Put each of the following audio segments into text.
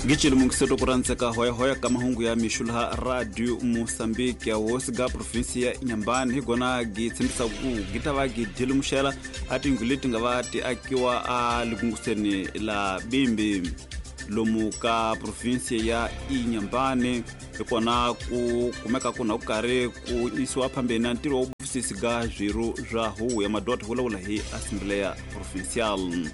Gicile mungiseto ku randzeka hoyahoya ka mahungu ya mixo laha Radio Mosambiki. Ya hosi ga provinsi ya Inhambane hi gona gi tshembisa ku gi ta va gi dilumuxela a tiyindlu leti nga va ti akiwa a likunguseni la Bimbi lomu ka provinsi ya Inhambane. Hi kona ku kumeka ku na ku karhi ku yisiwa phambeni na ntirho wa vufisisi ga swirho swa huvo ya madoda vulavula hi Assembleia Provincial.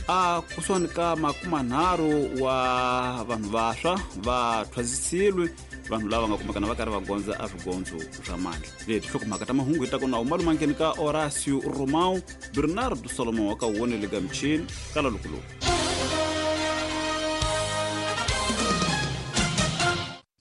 A kusuhani ka 30 wa vanhu vaswa va thwasisiwe, vanhu lava nga kumekana va karhi va gondza a swigondzo swa mandla. Leti hlokomhaka ta mahungu hi ta kona umalumangeni ka Horacio Romao Bernardo Solomon wa ka wonele ga michini kala lukuluku.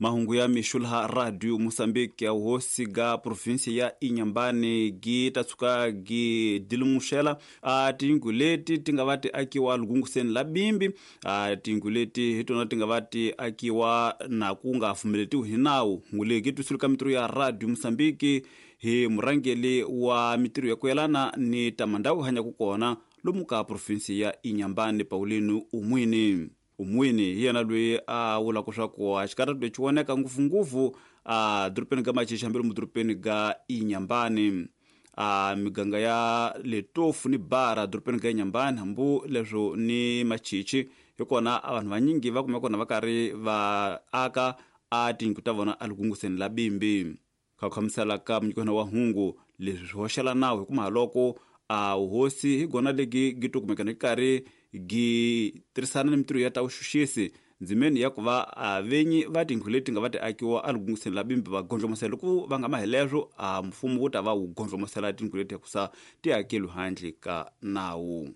Mahungu ya mixo laha Radio Mosambiki. Ya hosi ga provinsi ya Inhambane gi ta tshuka gi dilumuxela a tiyindlu leti ti nga va ti akiwa lugunguseni la Bimbi. A tiyindlu leti hi tona ti nga va ti akiwa na ku nga pfumeletiwi hi nawu. Hungu leyi gi twisiwile ka mitirho ya Radio Mosambiki hi murhangeri wa mitirho ya ku yelana ni ta mandhawu hanyaka kona lomu ka provinsi ya Inhambane, Paulino Umwini. Umwini hi yena loyi a vulaka swa ku a xikarhato lexi voneka ngopfungopfu a dorobeni ga Machichi hambi lomu dorobeni ga Inhambane, a miganga ya Letofu ni Bara dorobeni ga Inhambane, hambi leswo ni Machichi hi kona a vanhu vanyingi va kumeka kona va karhi va aka a tiyindlu ta vona elikunguseni la Bimbi. Kha ku khamisela ka munyikwana wa hungu leswi swi hoxela nawu, hikuva loko a hosi hi gona legi gi to kumekana yi karhi gi tirhisana ni mitirho ya ta vuxuxisi ndzimeni ya ku va a venyi va tindlu leti nga va ti akiwa elikunguseni la Bimbi va gondlomosela, loko va nga ma hi leswo a mfumo wu ta va wu gondlomosela tindlu leti hikusa ti akeliwi handle ka nawu.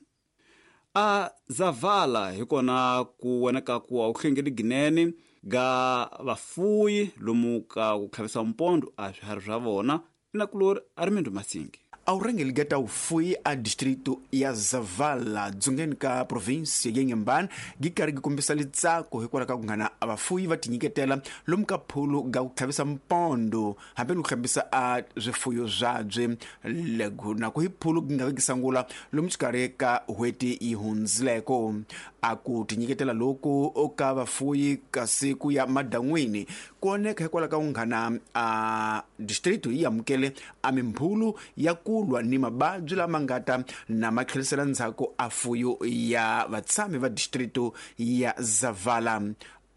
A Zavala hi kona ku voneka ku a wu hlengeli ginene ga vafuyi lomu ka ku tlhavisa mpondo a swiharhi swa vona. Nakulori a ri Mindu Masingi. A wu rhangeli ga ta vufuyi a distrito ya Zavala dzongeni ka provinsi ya Inhambane gi karhi gi kombisa litsako hikwalaho ka ku nghana a vafuyi va tinyiketela lomu ka phulu ga ku tlhavisa mpondo hambi ni ku hlambisa a swifuyo swabye. Lego na ku hi phulu gi nga vi gi sangula lomu xikarhi ka n'hweti yi hundzileko. A ku tinyiketela loku ka vafuyi kasi ku ya madan'wini ku oneka hikwalaho ka ku nghana a distrito yi amukele a mimbhulu ya ku lwa ni mavabyi lama nga ta na ma tlherisela ndzhaku a fuyo ya vatshami va distrito ya Zavala.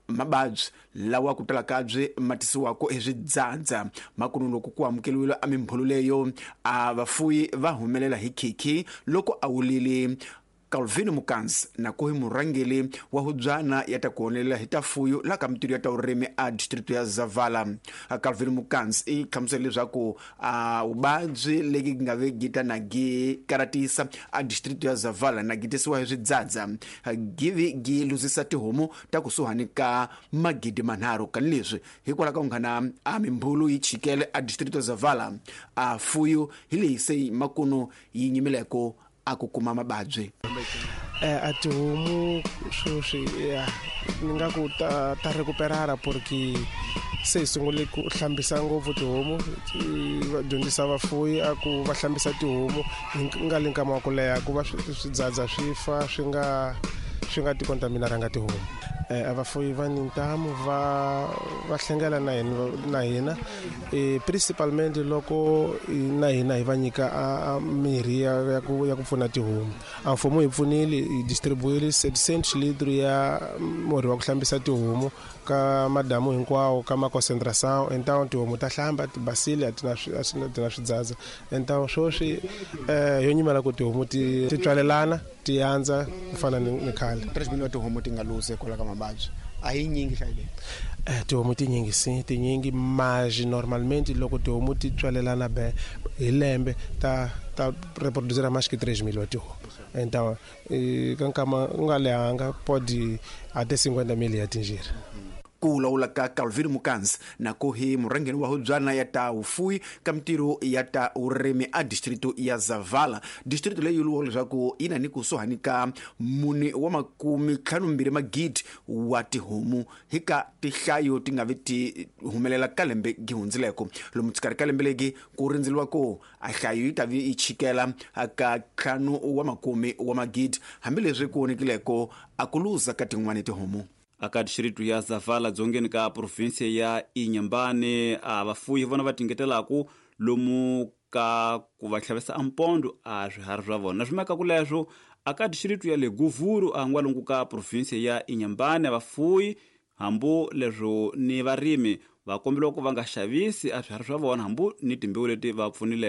Mavabyi lawa ku tala kabye ma tisiwaka hi swidzadza makunu loko ku amukeriwile a mimbhulu leyo a vafuyi va humelela hi khikhi loko a wulile Calvin Mukansi na ku hi murhangeri wa hubyana ya ta ku honelela hi ta fuyo la ka mitirho ya ta vurimi a distrito ya Zavala. Calvin Mukansi i hlamusela leswaku a vuvabyi legi nga ve gita na gi karatisa a distrito ya Zavala na gi tisiwa hi swidzadza givi gi luzisa tihomu ta kusuhani ka 3,000. Kani leswi hikwalaho ka ku nghana a mimbhulu yi chikele a distrito ya Zavala a fuyo hi leyi se makunu yi nyimileko a ku kuma mababyi. A tihomu sweswi ya ni nga ku ta ta recuperara porque se hi sungule ku hlambisa ngopfu tihomu, va dyondzisa vafuwi a ku va hlambisa tihomu hi nga le nkama wa ku leha ku va swidzadza swi fa swi nga ti contaminaranga tihomu. A vafuwi va ni ntamu, va hlengela na hina na hina principalmente loko na hina hi va nyika a mirhi ya ku pfuna tihomu. A mfumo hi pfunile, hi distribuile 700 litri ya murhi wa ku hlambisa tihomu ka madamu hinkwawo ka ma-concentration. Então tihomu ta hlamba ti basile, a ti na ti na swidzadza. Então sweswi yo nyimela ku tihomu ti tswalelana ti andza ku fana ni khale. 3 wa tihomu ti nga luze hikwalaho ka mavabyi a hi nyingi hlayo leyi? Tihomu tinyingi si tinyingi, mas normalmente loko tihomu ti tswalelana be hi lembe ta reproducir mais que 3 mil wa tihomu. Então ka nkama u nga lehanga pode até 50 mil ya atingir. Ku vulavula ka Calvin Mukansi na ku hi murhangeri wa hubyana ya ta vufuwi ka mitirho ya ta vurimi a distrito ya Zavala, distrito leyi vuriwaka leswaku yi na ni kusuhani ka 452 magidi wa tihomu hi ka tihlayo ti nga vi ti humelela ka lembe gi hundzileko. Lomu xikarhi ka lembe legi ku rindzeliwa ku a hlayo yi ta vi yi chikela ka 10 wa makume wa magidi, hambileswi ku vonekileko a ku luza ka tin'wani tihomu. Aka distritu ya Zavala dzongeni ka provinsia ya Inhambane, a vafuyi vona va tingetelaku lomu ka ku va tlhavisa a mpondo a swiharhi swa vona. Swi maka ku leswo aka distritu ya le Guvuru a n'walungu ka provinsia ya Inhambane, vafuyi hambu leswo ni varimi va kombeliwa ku va nga xavisi a swiharhi swa vona hambu ni timbewu leti va pfunileko.